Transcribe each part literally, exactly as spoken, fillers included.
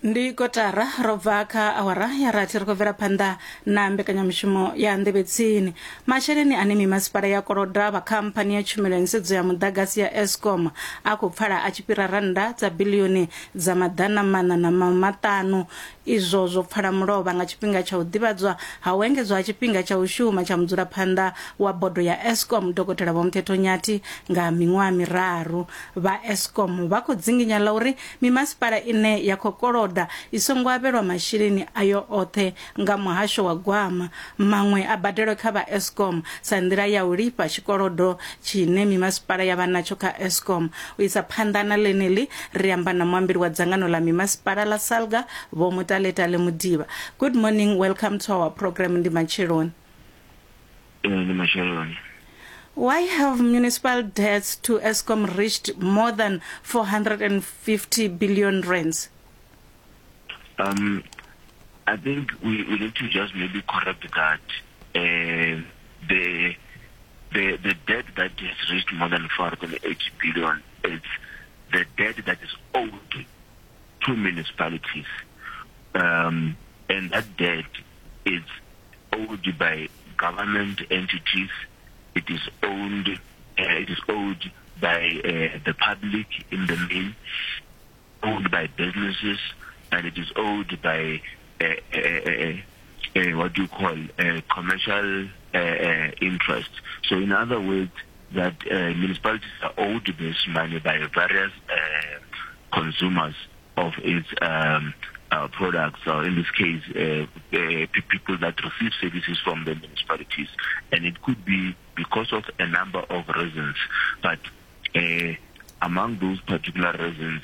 Ndi kotara ro bva kha awara ya rathi, ri khou bvela phanḓa na mbekanyamushumo ya Nḓevhetsini. Masheleni ane mimasipala ya koloda vha khamphani ya tshumelo ya nḓisedzo ya muḓagasi ya Eskom a khou pfala a tshi fhira rannda dza biḽioni dza maḓana maṋa na maṱanu. Izwo zwo pfala mulovha nga tshifhinga tsha u ḓivhadzwa ha u engedzwa ha tshifhinga tsha u shuma tsha mudzulaphanḓa wa bodo ya Eskom, Dokotela Vho Mthetho Nyathi, nga miṅwaha miraru. Vha Eskom vha khou dzinginya ḽa uri mimasipala ine ya khou koloda i songo avhelwa masheleni ayo oṱhe nga muhasho wa gwama, maṅwe a badelwe kha vha Eskom sa nḓila ya u lifha tshikolodo tshine mimasipala ya vha natsho kha Eskom. U isa phanḓa na ḽeneḽi, ri amba na muambeli wa dzangano ḽa mimasipala ḽa Salga, Vho Mutaletale Mudiba. Good morning, welcome to our program. Ndi matsheloni. Ndi matsheloni. Why have municipal debts to Eskom reached more than four hundred fifty billion rands? Um, I think we, we need to just maybe correct that. Uh, the the the debt that has reached more than four hundred eighty billion is the debt that is owed to municipalities. Um, and that debt is owed by government entities. It is owned. Uh, it is owed by uh, the public in the main, owned by businesses, and it is owed by uh, uh, uh, uh, what do you call uh, commercial uh, uh, interest. So, in other words, that uh, municipalities are owed this money by various uh, consumers of its um, uh, products, or in this case, uh, uh, people that receive services from the municipalities. And it could be because of a number of reasons, but uh, among those particular reasons,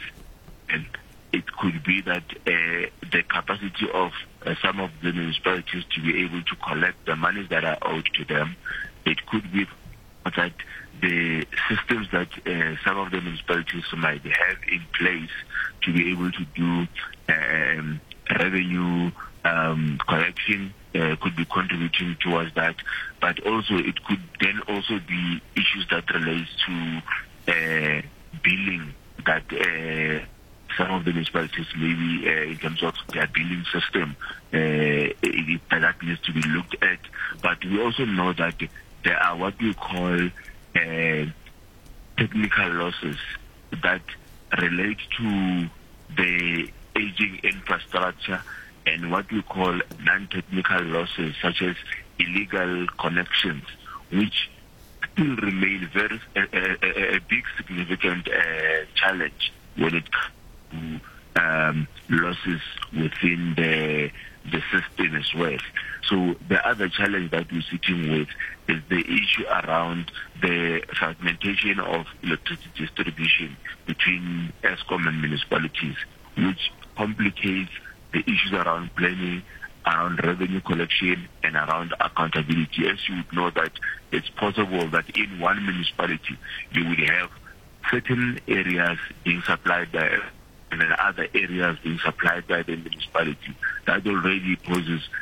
and it could be that uh, the capacity of uh, some of the municipalities to be able to collect the monies that are owed to them. It could be that the systems that uh, some of the municipalities might have in place to be able to do um, revenue um, collection uh, could be contributing towards that. But also it could then also be issues that relates to uh, billing that uh, some of the municipalities maybe uh, in terms of their billing system uh, it, it, that needs to be looked at. But we also know that there are what we call uh, technical losses that relate to the aging infrastructure and what we call non-technical losses, such as illegal connections, which still remain very a, a, a big significant uh, challenge when it comes to um, losses within the the system as well. So the other challenge that we're sitting with is the issue around the fragmentation of electricity distribution between Eskom and municipalities, which complicates the issues around planning, around revenue collection, and around accountability. As you would know that it's possible that in one municipality you would have certain areas being supplied by and then other areas being supplied by the municipality. That already poses